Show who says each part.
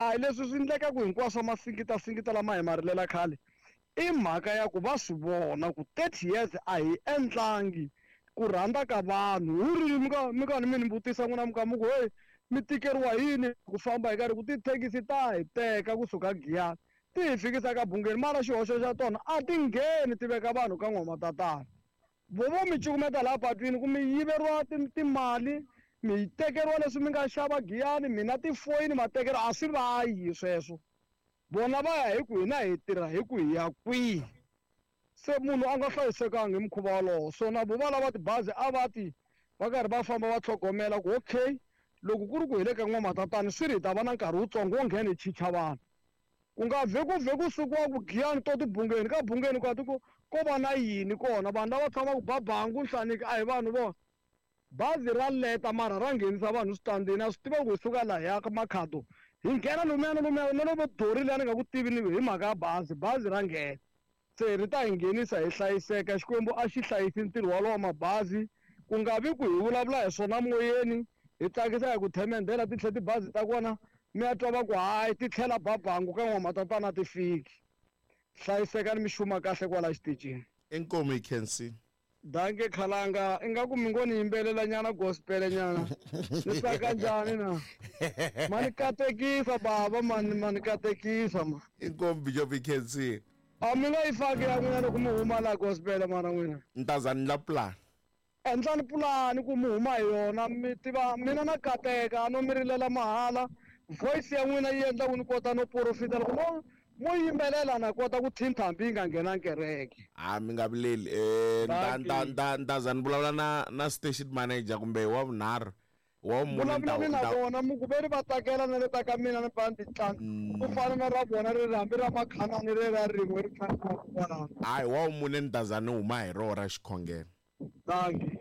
Speaker 1: A hi leswi swi endlekaka hinkwaswo masingita singita lama hi ma rilela khale i mhaka ya ku va swi vona ku 30 years a hi endlangi ku rhandza ka vanhu hu ri mi ka mi karhi mi ni vutisa n'wina mi ka mi ku hey mi tikeriwa hi yini ku famba hi karhi ku tithekisi ta hi teka kusuka Giyani ti hi fikisa ka Bungeni mara xihoxo xa tona a ti ngheni ti veka vanhu ka n'wamatatana vo vo mi cukumeta laha patwini ku mi yiveriwa timali mi tekeriwa leswi mi nga xava Giyani mina tifoyini ma tekeriwa a swi vayi sweswo vona va ya hi ku hina hi tirha hi ku hi ya kwihi se munhu a nga hlayisekanga hi mukhuva wolowo so na vo va lava tibazi a va ti va karhi va famba va tlhogomela ku okay loko ku ri ku hi le ka n'wamatatani swi ri hi ta va na nkarhi wutsongo wo nghena hi chicha vanhu ku nga vhe ku vhe ku sukiwa ku Giyani to tibungeni ka Bungeni ka tiko ko va na yini kona vanhu lava tshamaka Babangu Nhlaniki a hi vanhu vona bazi ra leta mara ra nghenisa vanhu switandini a swi tiva ku hi suka lahaya ka Makhado hi nghena lomuya na lomuya na lomu dori liya ni nga ku tivi ni hi mhaka ya bazi bazi ra nghena se ri ta hi nghenisa hi hlayiseka Xikwembu a xi hlayisi ntirho walowo mabazi ku nga vi ku hi vulavula hi swona moyeni hi tsakisa hi ku themendhela ti tlhe tibazi ta kona mi ya twa va ku hayi ti tlhela Babangu ka n'wamatatana ti fiki hlayisekani mi xuma kahle kwala xitichini.
Speaker 2: Inkomu yi khensi.
Speaker 1: Danke khalanga ingaku mi ngo ni yimbelela nyana gospel nyana ni tsaka njhani na ma ni katekisa baba mani ma ni katekisa ma.
Speaker 2: Inkomu Bishop yi khensile.
Speaker 1: A mi nga yi faki ya n'wina loko mi huma la gospel mara n'wina.
Speaker 2: Ni ta za ni ndla plan.
Speaker 1: Endlani pulani ku mi huma hi yona mi tiva mina na kateka a no mi rilela mahala voice ya n'wina yi endla ku ni kota no porofita loko mo mo yimbelela na kota ku thintha hambi yi nga nghenangi kereke.
Speaker 2: Ha mi nga vileli eh nta nta nta nta za ni vulavula na na station manager kumbe wa vunharhu wa vumune ni ta
Speaker 1: Vulavulani na vona mi ku ve ri va tsakela na le ta ka mina ni pfa ni ti tlanga ku fana na ra vona ri ri hambi ra Makhanani re ra rin'we ri tlangiwaka kwalano.
Speaker 2: Hayi wa vumune ni ta za ni huma hi rona ra xikhongelo.
Speaker 1: Dankie.